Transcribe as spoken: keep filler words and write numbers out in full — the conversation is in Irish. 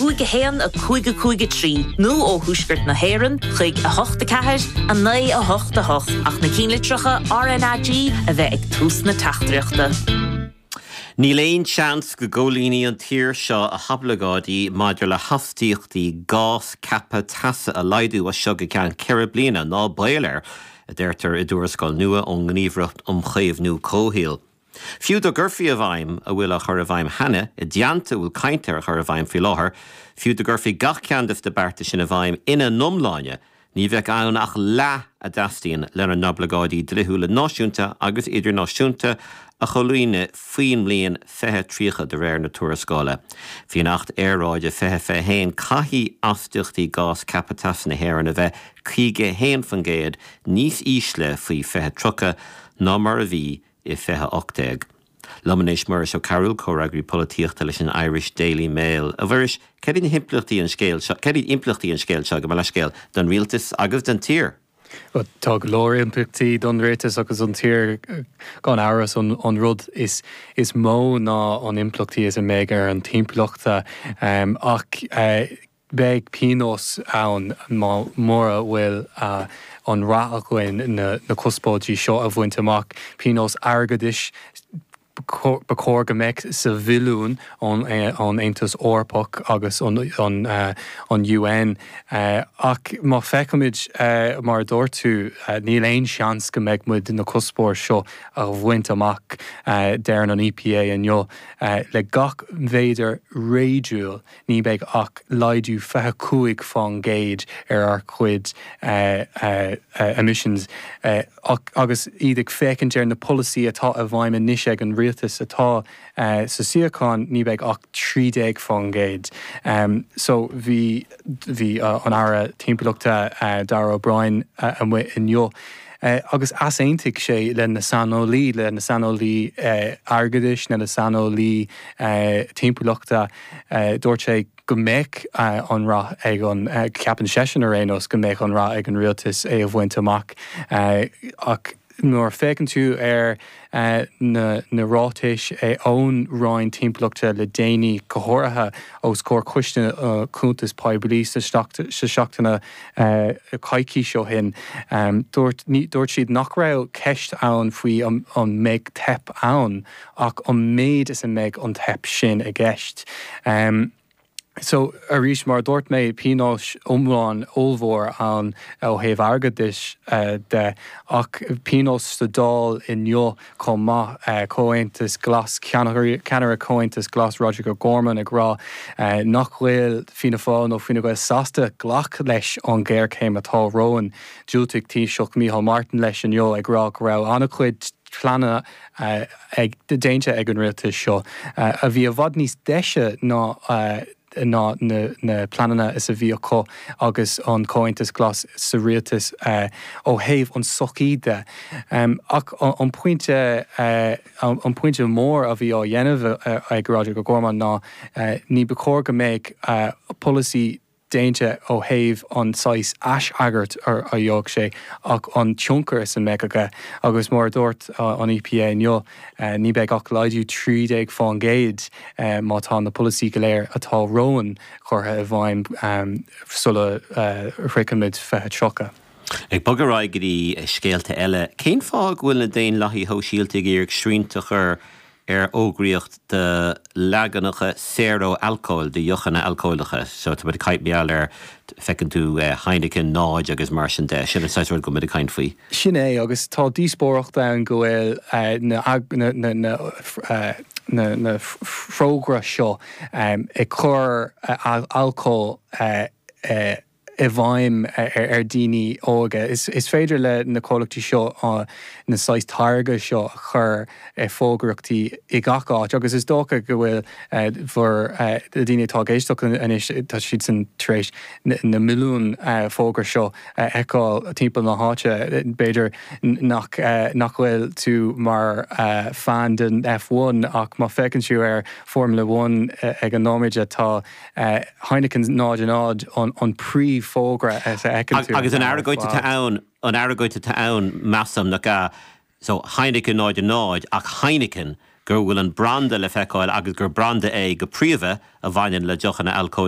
cúig a haon a cúig a cúig a trí nó ó Thuaisceart na hÉireann chuig a hocht a ceathair a naoi a hocht a hocht ach na ceannlitreacha RnaG a bheith ag tús na teachtaireachta. Níl aon seans go gcomhlíonfaidh an tír seo a hoibleagáidí maidir le hastaíochtaí gás ceaptha teasa a laghdú as seo go ceann ceithre bliana ná baol air, a deirtear i dtuarascáil nua ón nGníomhaireacht um Chaomhnú Comhshaoil. Fiú dá gcuirfí i bhfeidhm a bhfuil á chur i bhfeidhm cheana i dteannta a bhfuil caint ar a chur i bhfeidhm faoi láthair, fiú dá gcuirfí gach ceann de na bearta sin i bhfeidhm ina n-iomláine, ní bheadh ann ach leath a dteastaíonn lena n-oibleagáidí dlíthiúla náisiúnta agus idirnáisiúnta a chomhlíonadh faoin mbliain fiche tríocha de réir na tuarascála. Faoin Acht Aeráide fiche fiche haon caithfidh astaíochtaí gás ceaptha teasa na hÉireann a bheith caoga haon faoin gcéad níos ísle faoi fiche tríocha ná mar a bhí i fiche ocht déag. Liom anois Muiris Ó Cearúil comhfhreagraí polaitíochta leis an Irish Daily Mail. A Mhuiris, cad iad na himpleachtaí an scéil seo, cad iad impleachtaí an scéil seo gabh mo leithscéal don rialtas agus don tír? Tá go leor impleachtaí don rialtas agus an tír gan amhras an, an rud is, is mó ná an impleachtaí is a mbeidh ar an timpeallacht um, ach uh, beidh pionós ann mura bhfuil uh, an rath againn na, na cuspóirí seo a bhaint amach pionós airgeadais ba chóir go mbeadh sa bhilliún ón an Aontas Eorpach agus an, an, uh, an UN uh, ach má fheicimid uh, mar dúirt tú uh, níl aon seans go mbeidh muid na cuspóir seo a bhaint amach uh, deir an EPA inniu uh, le gach méadar réadúil ní bheidh ach laghdú fiche cúig faoin gcéad ar ár gcuid uh, uh, uh, emissions uh, agus iad ag féachaint ar na polasaí atá i bhfeidhm anois ag an rialtas atá uh, sa suíochán ní bheidh ach trí déag faoin gcéad. Um, so bhí bhí uh, an Aire Timpeallachta uh, Darragh O'Brien uh, amuigh inniu. Uh, agus easaontaigh sé le na saineolaí le na saineolaí uh, airgeadais na na saineolaí uh, timpeallachta uh, dúirt sé go mbeidh uh, an rath ag an uh, ceapann seisean ar aon nós go mbeidh an rath ag an rialtas é a bhaint amach uh, ach nuair féachann tú ar uh, na, na ráitis é ón Roinn Timpeallachta le déanaí go háirithe os comhair Coiste uh, Cuntas Poiblí sa seachtain uh, coicís ó shin. Um, dúirt siad nach raibh ceist ann faoi an, an mbeidh teip ann ach an méid is a mbeidh an teip sin i gceist. Um, So arís mar dúirt mé pionós iomlán ollmhór an ó thaobh airgeadais uh, de ach pionós sa Dáil inniu chomh maith uh, Comhaontas Glas ceannaire Comhaontas Glas Roderic O'Gorman ag rá uh, nach bhfuil Fianna Fáil nó Fine Gael sásta glacadh leis an géarchéim atá romhainn Diúltaigh Taoiseach Micheál Martin leis inniu ag rá go raibh an-chuid pleananna uh, ag déanta ag an rialtas seo uh, a bhí i bhfad níos deise ná uh, ná na, na pleananna is a bhí acu agus an Comhaontas Glas sa rialtas uh, ó thaobh an sochaí de. Um, ach an pointe uh, an pointe mór a bhí á dhéanamh uh, ag Roderic O'Gorman ná uh, ní ba chóir go mbeidh uh, polasaí déanta ó thaobh an saghas aisfhreagairt ar a dheoidh sé ach an tionchar is a mbeidh aige agus mar dúirt an EPA inniu ní bheidh ach laghdú trí déag faoin gcéad má tá na polasaí go léir atá romhainn curtha i bhfeidhm sula shroichimid fiche tríocha. Ag bogadh ar aghaidh go dtí scéalta eile, cén fáth go bhfuil na Daonlathaithe Sóisialta ag iarraidh srianta a chur ar fhógraíocht de leaganacha saor ó alcól de dheochanna alcólacha, so tá caint mar ar feiceann tú eh, Heineken náid agus mar sin de sin an rud go mbeidh caint faoi. Sin é agus tá díospóireacht ann go bhfuil eh, na, na, na, na, eh, na, na fógra seo um, ag cur uh, alcól uh, uh, i bhfeidhm ar, ar daoine óga. Is, is féidir le na comhlachtaí seo uh, na saghas táirge seo a chur uh, fógraíochtaí i gach áit, agus is dócha go bhfuil uh, bhur uh, daoine atá ag éisteacht anois tá siad san tar éis na, na milliún uh, fógra seo uh, fheiceáil timpeall na háite b'fhéidir nach uh, nach bhfuil tú mar uh, fan den F one ach má fheiceann tú ar Formula One uh, ag an nóiméad tá uh, Heineken náid náid an, an príomhfhógra Agus an argóint atá ann an argóint atá ann measaim nach so Heineken náid náid ach Heineken gur bhfuil an branda le feiceáil agus gur branda é go príomha a bhaineann le deochanna alcóil